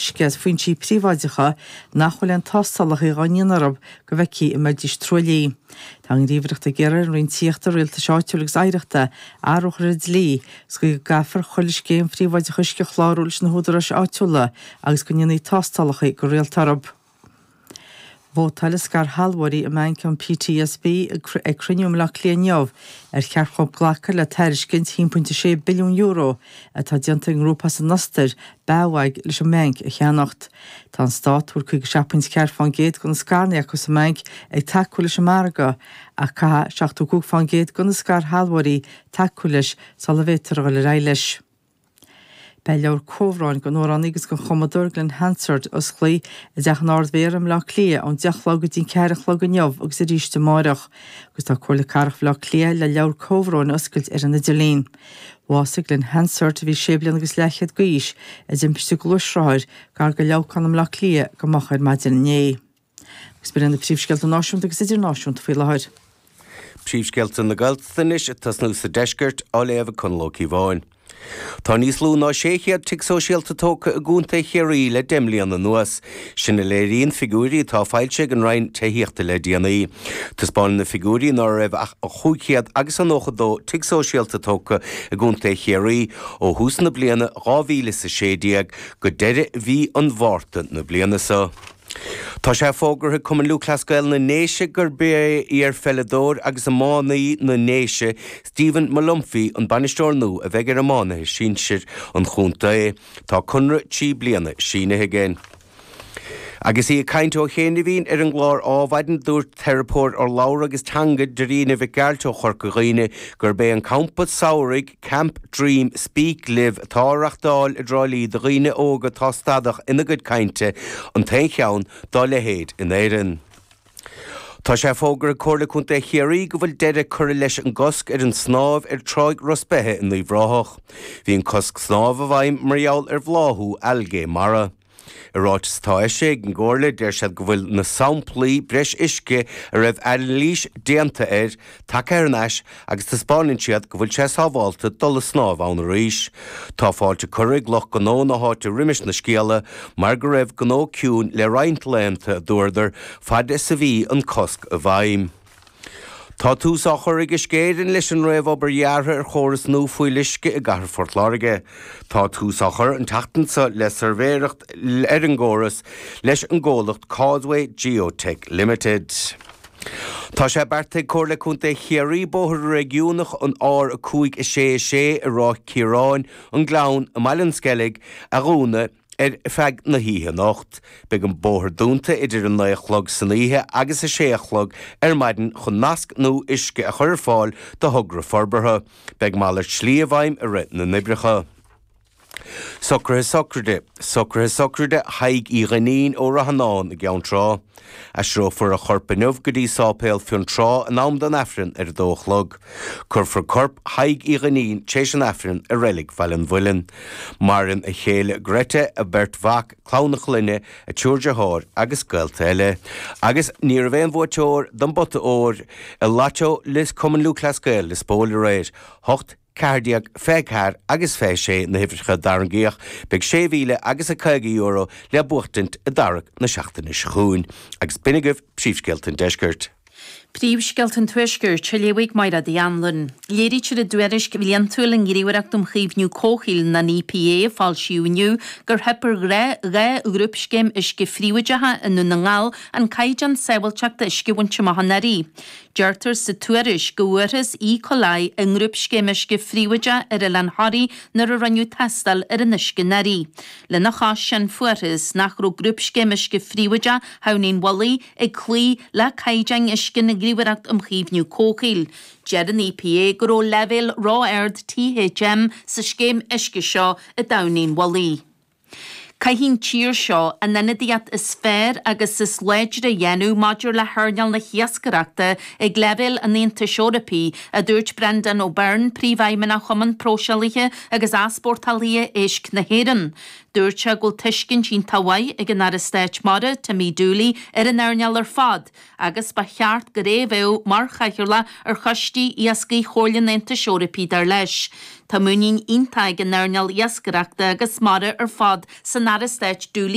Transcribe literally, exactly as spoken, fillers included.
uisce as foinsí príobháideacha nach bhfuil aon tástálacha á ndéanamh orthu go bhfeicfí an mbeidís truaillithe. Tá an ghníomhaireacht ag iarraidh ar an Roinn Tithíochta, Rialtais Áitiúil agus Oidhreachta athrú a chur ar an dlí sa chaoi go gcaithfear chuile scéim phríobháideach uisce a chlárú leis na húdaráis áitiúla agus go ndéanfaí tástálacha go rialta orthu. Vótáil scairshealbhóirí i mbanc an PTSB ag cruinniú i mBaile Átha Cliath inniu ar cheart dóibh glacadh le tairiscint haon pointe sé billiún euro atá déanta ag an ngrúpa as an Ostair, BAWAG, leis an mbanc a cheannacht. Tá an stát, a bhfuil caoga seacht pointe ceathair fán gcéad de na scaireanna acu sa mbanc, ag tacú leis an margadh ach caithfidh seachtó cúig fán gcéad de na scairshealbhóirí tacú leis sula bhféadfar a dhul ar aghaidh leis. Beidh leabhar comhbhróin den amhránaí agus den chumadóir Glen Hansard osclaithe i dTeach an Ard-Mhéara i mBaile Átha Cliath ón deich a chlog go dtí an ceathair a chlog inniu agus arís amárach, agus tá Comhairle Cathrach Bhaile Átha Cliath le leabhar comhbhróin a oscailt ar an idirlíon. Bhásaigh Glen Hansard, a bhí sé bliana agus leathchéad d'aois, i dtimpiste gluaisrothair gar do Leamhcán i mBaile Átha Cliath go moch ar maidin inné. Agus b'in na príomhscéalta náisiúnta agus idirnáisiúnta faoi láthair. Príomhscéalta na Gaeltachta anois ag tosnú sa deisceart á léamh ag Conall Ó Cíobháin. Tá níos lú ná sé chéad tigh sóisialta tógtha i gContae Chiarraí le deich mbliana anuas. Sin a léiríonn figiúirí atá foilsithe ag an Roinn Tithíochta le déanaí. Taispeánann na figiúirí ná raibh ach chúig chéad agus an nócha dó tigh sóisialta tógtha i gContae Chiarraí ó thús na bliana dhá mhíle is a sé déag go deireadh mhí an Mhárta na bliana seo. Tá sé fógartha ag Cumann Lúthchleas Gael na nDéise gurb é iarpheileadóir agus iománaí na nDéise, Stephen Molumphy, an bainisteoir nua a bheidh ar iománaithe sinsir an chontae. Tá conradh trí bliana sínithe aige. Agus í ag caint ó chianaibh ar an gclár Adhmhaidin, dúirt teiripeoir urlabhra agus teanga Dairena Mhic Gearailt ó Chorca Dhuibhne gurb é an campa samhraidh Camp Dream Speak Live atá á reáchtáil i dTrá Lí do dhaoine óga atá stadach ina gcuid cainte an t-aon cheann dá leithéid in Éirinn. Tá sé fógartha ag Comhairle Contae Chiarraí go bhfuil deireadh curtha leis an gcosc ar an snámh ar Tráigh Ros Beithe in Uíbh Ráthach. Bhí an cosc snámh i bhfeidhm mar gheall ar bhláthú algae mara. I ráiteas atá eisithe ag an gComhairle deir siad go bhfuil na samplaí breis uisce a raibh anailís déanta air tagtha thar n-ais agus taispeánann siad go bhfuil sé sábháilte dul ag snámh ann arís. Tá fáilte curtha ag lucht gnó na háite roimis na scéala mar go raibh gnó ciúin le roinnt laethanta a dúradar fad is a bhí an cosc i bhfeidhm. Tá tús á chur ag Uisce Éireann leis an réamhobair dheartha ar chóras nua fuíolluisce i gcathair Phort Láirge. Tá tús á chur an tseachtain seo le suirbhéireacht ar an gcóras leis an gcomhlacht Causeway Geotech Limited. Tá sé beartaithe ag Comhairle Contae Chiarraí bóthar réigiúnach an R a cúig a sé a sé i Ráth Ciaráin, an Gleann, i mBaile an Sceilg, a dhúnadh ar feadh na hoíche anocht. Beidh an bóthar dúnta idir a naoi a chlog san oíche agus a sé a chlog ar maidin chun nasc nua uisce a chur ar fáil do thogra forbartha. Beidh malairt slí i bhfeidhm i rith na n-oibreacha. Socruithe sochraide, Socruithe sochraide Thaidhg Uí Dhuinnín ó Ráth Fhionáin i gCeann Trá. Aistreofar a chorp inniu go dtí Sáipéal Fionntrá in am don Aifreann ar a dó a chlog. Cuirfear corp Thaidhg Uí Dhuinnín tar éis an Aifrinn i Reilig Bhaile an Mhuilinn. Maireann a chéile Greta, a beirt mhac, clann a clainne, a triúr deartháir agus gaolta eile. Agus ní raibh aon bhuaiteoir don bpota óir i Lotto Lios Cumann Lúthchleas Gael Lios Póil aréir. hocht, ceathair déag, fiche ceathair agus fiche sé na huimhreacha a tarraingíodh, beidh sé mhíle agus a caoga euro le buachtaint i dtarrac na seachtaine seo chugainn. Agus b'in agaibh príomhscéalta an deiscirt. Príomhscéalta an Tuaiscirt, á léamh ag Máire Uí Anluain. Léirítear i dtuairisc bhliantúil an Ghníomhaireacht um Chaomhnú Comhshaoil, an EPA, a foilsíodh inniu, gur theip ar dhá ghrúpscéim uisce phríobháideacha i nDún na nGall an caighdeán sábháilteachta uisce a bhaint amach anuraidh. Deirtear sa tuairisc go bhfuarthas E. coli i ngrúpscéim uisce phríobháideach ar Oileán Thoraí nuair a rinneadh tástáil ar an uisce anuraidh. Lena chois sin fuarthas nach raibh grúpscéim uisce phríobháideach Thamhnaigh an Mhullaigh ag cloí le caighdeáin uisce na Gníomhaireacht um Chaomhnú Comhshaoil. Deir an EPA go raibh leibhéal ró-ard THM sa scéim uisce seo i dTamhnaigh an Mhullaigh. Caithfidh an tír seo an ionadaíocht is fearr agus is láidre a dhéanamh maidir le hearnáil na hiascaireachta ag leibhéal an Aontais Eorpaigh, a dúirt Brendan O'Byrne, Príomhfheidhmeannach Chumann Próiseálaithe agus Easpórtálaithe Éisc na hÉireann. Dúirt sé go bhfuil tuiscint iontach mhaith ag an Aire Stáit Mara, Timmy Dooley, ar an earnáil ar fad agus ba cheart gur é a bheadh mar chathaoirleach ar choistí iascaigh Chomhairle an Aontais Eorpaigh, dar leis. Tá muinín iontach ag an earnáil iascaireachta agus mara ar fad san Aire Stáit Dooley,